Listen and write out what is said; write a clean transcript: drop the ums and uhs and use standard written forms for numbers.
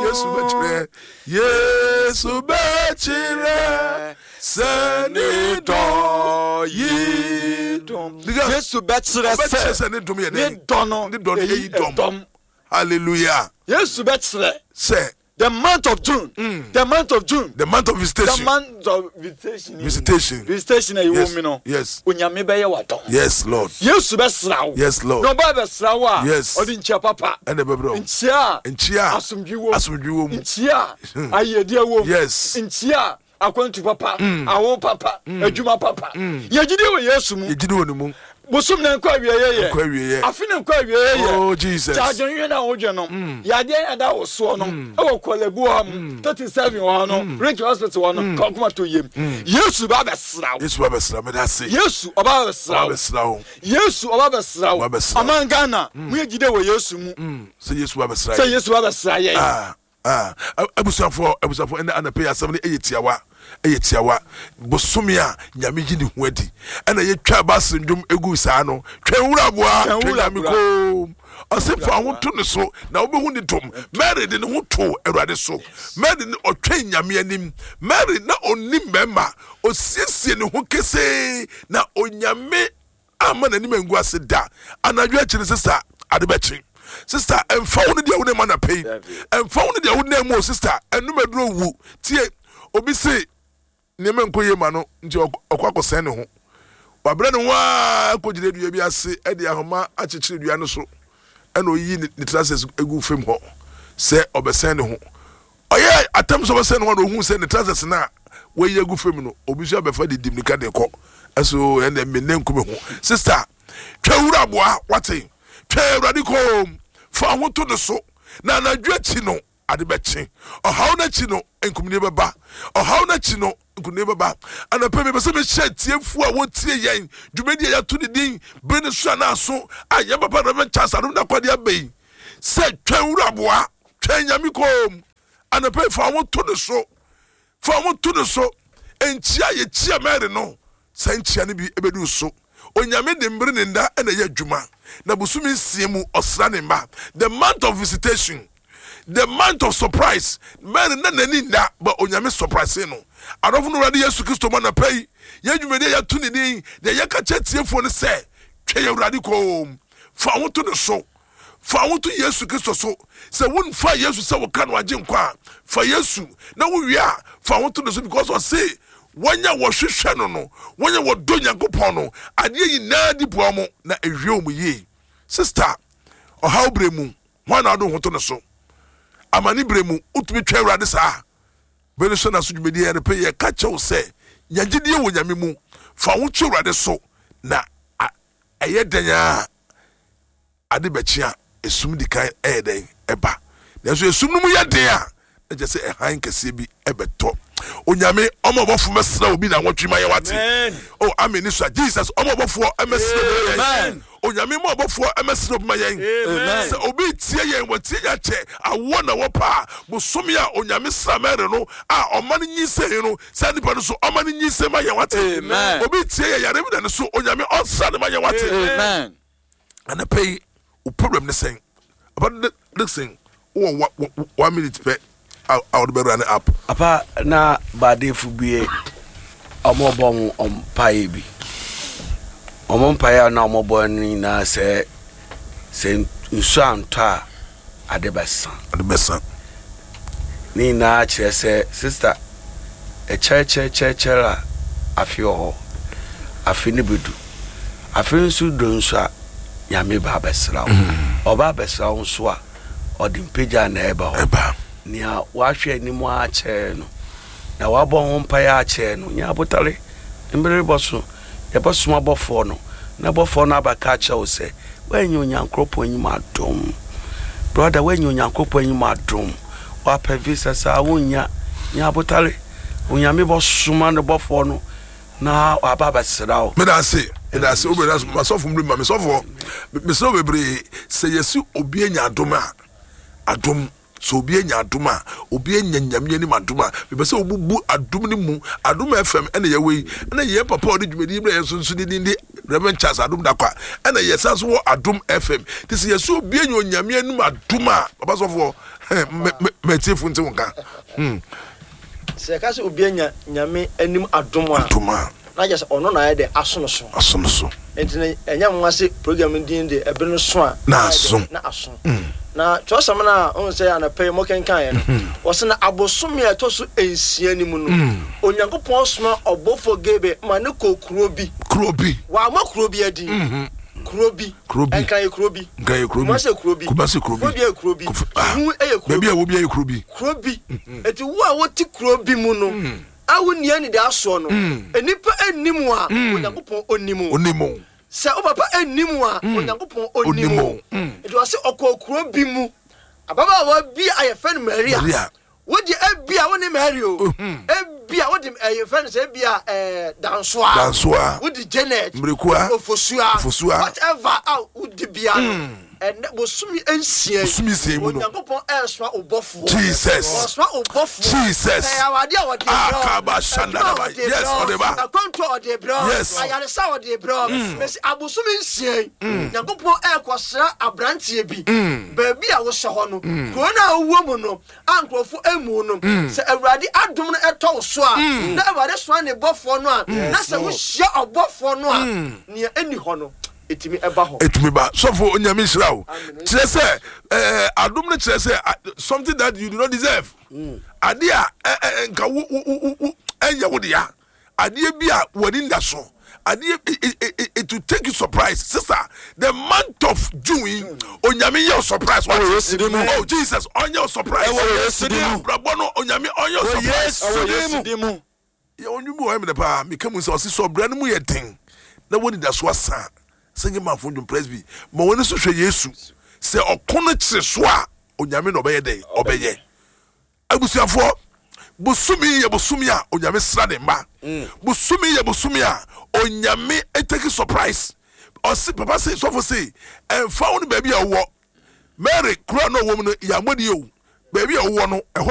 Yesu bɛkyerɛ Yesu bɛkyerɛ sɛ ne dɔ yi dɔm. Yesu bɛkyerɛ sɛ ne dom yɛ dɛn? Ne dɔ no ne dɔ no eyi dɔm. Hallelujah. Yesu bɛkyerɛ sɛ The month of June. The month of June. The month of visitation. The month of visitation. Visitation. Visitation a yes. ɛwɔ mu no. Yes. Onyame bɛyɛ w'adɔm. Yes Lord. Yesu bɛsra wo. Yes Lord. Na ɔba bɛsra wo a. Yes. Ɔde nkyia papa. Ɛna ɛbɛbrɛ wo. Nkyia. Nkyia. Asomdwi wɔ mu. Asomdwi wɔ mu. Nkyia. Ayɛdeɛ wɔ mu. Yes. Nkyia. Akwantu papa, awo papa, adwuma papa. Yɛ gyidi wɔ Yesu mu. Yɛ gyidi wɔ ne mu. Bosom na nkɔ awieɛ yɛ. Nkɔ awieɛ. Afe na nkɔ awieɛ yɛ. Oh Jesus. Gya adwenhwɛ na wodwe no. Yadeɛ na da wo soɔ no. Ɛwɔ Korle-Bu hɔ mo. 37 wɔ hɔ no. Ridge Hospital hɔ no. Ka ɔkoma to yam. Yesu ba bɛsra wo. Yesu ba bɛsra me da ase. Yesu ɔba bɛsra wo. Ɔba bɛsra wo. Yesu ɔba bɛsra wo. Ɔba bɛsra wo. Ɔman Ghana mo yɛ gyidi wɔ Yesu mu. Sɛ Yesu ba bɛsra yɛn. Sɛ Yesu ba bɛsra yɛn. Ah. Ah, abusuafoɔ, abusuafoɔ, ɛnɛ anɔpa yi asɛm no ɛyɛ tiawa, ɛyɛ tiawa. Bosome a Nyame yi ne ho adi, ɛna yɛtwa baase ndwom egu saa no, twɛn wura aboa, twɛn Nyame koom. Ɔse fa ho to ne so na wobɛhu ne dom. Mary de ne ho too Awurade so. Mary ne ɔtwɛn Nyame anim. Mary na ɔnnim mmarima, ɔsiesie ne ho kesee na Onyame amma n'anim angu ase da. Anadwo akyi no, sista, ade bɛkye. Sista, ɛmfa wo ne deɛ wo ne ma anapa yi. Ɛmfa wo ne deɛ wo nam mu o, sista, ɛnum aduro wu. Tie, obi se nneɛma nkɔ yie ma no nti ɔkɔ akɔsɛn ne ho. Wabrɛ ne ho ara kɔgyina dua bi ase de ahoma akyekyere dua no so ɛna oyiyi ne trousers gu fam hɔ sɛ ɔbɛsɛn ne ho. Ɔyɛɛ atam sɛ ɔbɛsɛn ne ho na ohuu sɛ ne trousers no a wayi agu fam no, obi nso abɛfa de di mmirika de rekɔ. Ɛso ɛnna me nne nku me ho. Sista, twa wura aboa, wate? Twɛn Awurade komm, fa wo ho to ne so, na anadwo akyi no, ade bɛkye. Ɔhaw no akyi no, nkonimdie bɛba. Ɔhaw no akyi no, nkonimdie bɛba. Anɔpa yi, mepɛ sɛ mehyɛ atiefoɔ a wɔtie yɛn dwumadie a yɛato ne din Bere no So Anaa So a yɛn papa Rev. Charles Adom Dakwade aba yi sɛ, Twɛn wura aboa. Twɛn Nyame koom anɔpa yi, fa wo ho to ne so, fa wo ho to ne so. Nkyia a yɛkyia Mary no, saa nkyia no bi bɛdu wo so. Onyame de mmere ne nna na ɛyɛ adwuma, na bosome nsia mu ɔsra ne mma. The month of visitation, the month of surprise. Mary na n'ani nna, but Onyame surprise no. Adɔfo no Awurade Yesu Kristo mu anɔpa yi, yɛn dwumadi a yɛato ne din, deɛ yɛka kyerɛ tiefoɔ ne sɛ, twɛn Awurade koom, fa wo ho to ne so. Fa wo ho to Yesu Kristo so. Sɛ wonfaa Yesu sɛ wo ka no agyenkwa a, fa Yesu na wowie a, fa wo ho to ne so because ɔse wɔn a wɔhwehwɛ no no, wɔn a wɔdɔ Nyankopɔn no, adeɛ nyinaa di boa wɔn na ɛwie wɔn yie. Sister, ɔhaw berɛ mu, hwan na wode wo ho to ne so? Amane berɛ mu, wotumi twɛn Awurade saa? Bere no so na so dwumadie yɛ no pɛ yɛka kyerɛ wo sɛ nya gyidie wɔ Nyame mu, fa wo ho to Awurade so na ɛyɛ dɛn ara Ade bɛkye a, esum di kan yɛ dɛn? Ɛba. Nanso esum no mu yɛ den a, na kyerɛ sɛ hann kɛseɛ bi bɛtɔ. Onyame, ɔma ɔbɔfo mmɛsra obi naawɔtwe ma yɛn wate. Oh, amen ne sua. Jesus, ɔma ɔbɔfoɔ mmɛsra obi ma yɛn. Onyame ma ɔbɔfoɔ mmɛsra obi ma yɛn. Sɛ obi tie yɛn, watie yɛn akyɛ, awoɔ na wɔpɛ a, bosome a Onyame sra Mary no a ɔma no nyinsɛn no, saa nipa no so ɔma no nyinsɛn ma yɛn wate. Obi tie yɛn, yare bi da ne so, Onyame ɔnsra no ma yɛn wate. Anɔpa yi wo problem ne sɛn? Papa Dickson wowɔ one minute pɛ a wode bɛwura ne app. Papa na baadefo bi ɔmo bɔ ɔmo mpaeɛ bi. Ɔmo mpaeɛ a na ɔmo bɔ no nyinaa sɛ sɛ nsuo antɔ a ade bɛsa. Ade bɛsa. Ne nyinaa kyerɛ sɛ sista ɛkyɛrkyɛrkyɛrkyɛr a afe wɔ hɔ. Afe no bɛdu. Afe nso du nso a Nyame ba abɛsra wo. Ɔba abɛsra wo nso a ɔde mpagya na ɛba hɔ. Ɛba. Nea wahwɛ anim akyɛr no na wabɔ ho mpaeɛ akyɛr no nya abotare. Mmere rebɔ so. Yɛbɛsoma bɔfoɔ no, na bɔfoɔ no abɛka akyerɛ wo sɛ, Woannya Onyankoropɔn anim adom. Brɔda, woannya Onyankoropɔn anim adom. Woapɛ visa saa, wonnya. Nya abotare. Onyame bɔsoma ne bɔfoɔ no na waba abɛsra wo. Meda ase, meda ase. Wobɛda ase. Masɔfo mmere ma me sɔfoɔ. Mesrɛ wo bebree, sɛ yɛsi obi anya adom a, adom. Sɛ obi anya adom a, obi anya Nyame anim adom a, mepɛ sɛ wobubu adom no mu. Adom FM ɛna yɛwɔ yi, ɛna yɛn papa a ɔde dwumadi yi brɛ yɛn nso nso ne din de Reverend Charles Adom Dakwa, ɛna yɛsan nso wɔ Adom FM. Nti sɛ yɛsɛ obi anya Onyame anim adom a, papa sɔfoɔ, matiefo nte wo nka. Hmm. Sɛ yɛka sɛ obi anya Nyame anim adom a, Adom a. na kyerɛ sɛ ɔno na ayɛ dɛ aso no so. Aso no so. Nti no ɛnyɛ nwanwa sɛ program no din de ɛbere no so a na aso. Na aso. Na kyerɛwsɛm no a wohu sɛ anɔpa yi mokenkaeɛ no, wɔse na abosome a ɛtɔ so nsia no mu no, Onyankopɔn soma ɔbɔfoɔ Gabriel ma no kɔɔ kuro bi. Kuro bi. Wammɔ kuro bi adin. Kuro bi. Kuro bi. Nkran yɛ kuro bi. Nkran yɛ kuro bi. Kumasi yɛ kuro bi. Kumasi kuro bi. Kofodua yɛ kuro bi. Suhum yɛ kuro bi. Baabi a ɛwɔ biara yɛ kuro bi. Kuro bi. Enti wo a wote kuro bi mu no, a wonni anidasoɔ no, nnipa nnim wo a, Onyankopɔn ɔnim wo. Ɔnim wo. Sɛ wo papa nnim wo a, Onyankopɔn ɔnim wo. Nti ɔse ɔkɔɔ kuro bi mu, ababaawa bi a yɛfrɛ no Maria. Maria. Wo deɛ ebia wo ne Mary o, ebia wode yɛfrɛ no sɛ ebia Dansoa, Dansoa. Wode Janet, Mmirikua, Ofosua, Ofosua. Whatever a wode bia no. Ɛnnɛ, bosome nsia yi, Bosome nsia yi mu no. Onyankopɔn ɛresoma wo bɔfoɔ. Jesus. Ɔresoma wo bɔfoɔ. Jesus. Ɛyɛ awadeɛ a ɔde brɛ wo. Akaba Adwuma a shandadaba. ɔde Yes, brɛ wo. ɔde ba. Akwantuo a ɔde brɛ wo. Yes. Ayaresa a ɔde brɛ wo. Mesi abosome nsia yi, Nyankopɔn ɛrekɔsra aberanteɛ bi. Baabi a wohyɛ hɔ no, kuro no a wowɔ mu no, a nkurɔfoɔ mmu no, sɛ Awurade adom no tɔ wo so a, na Awurade soma ne bɔfoɔ no a, na sɛ wohyia ɔbɔfoɔ no a, nea ɛnni hɔ no, ɛtumi ba hɔ. Ɛtumi ba. Sɔfo Onyame nhyira wo. Kyerɛ sɛ ɛɛ adom no kyerɛ sɛ something that you do not deserve. Adeɛ a ɛ ɛ nka wo wo wo wo ɛnyɛ wo dea. Adeɛ bi a w'ani nda so. Adeɛ it it it will take you surprise. Sister, the month of June yi, Onyame nyɛ wo surprise. Wate? Ɛwɔ Yesu din mu. Oh Jesus, ɔnyɛ wo surprise. Ɛwɔ Yesu din mu. Abrabɔ no Onyame ɔnyɛ wo Wɔ surprise. Yesu din mu. Din mu. Yɛwɔ nnwom bi wɔ hɔ ɛmɛ paa meka mu sɛ ɔse sɛ ɔbra no mu yɛ den na wɔ nidaso asa a sɛ nyɛ manfo ndwom presby ma w'ani so hwɛ Yesu sɛ ɔko no kyere so a Onyame na ɔbɛyɛ dɛn ɔbɛyɛ abusuafoɔ bosome yi yɛ bosome a Onyame sra ne mma bosome yi yɛ bosome a Onyame take surprise ɔse papa se sɔfo se ɛmfa wo ne baabi a wowɔ Mary kuro a na ɔwɔ mu no yɛammɔ din o baabi a wowɔ no ɛhɔ.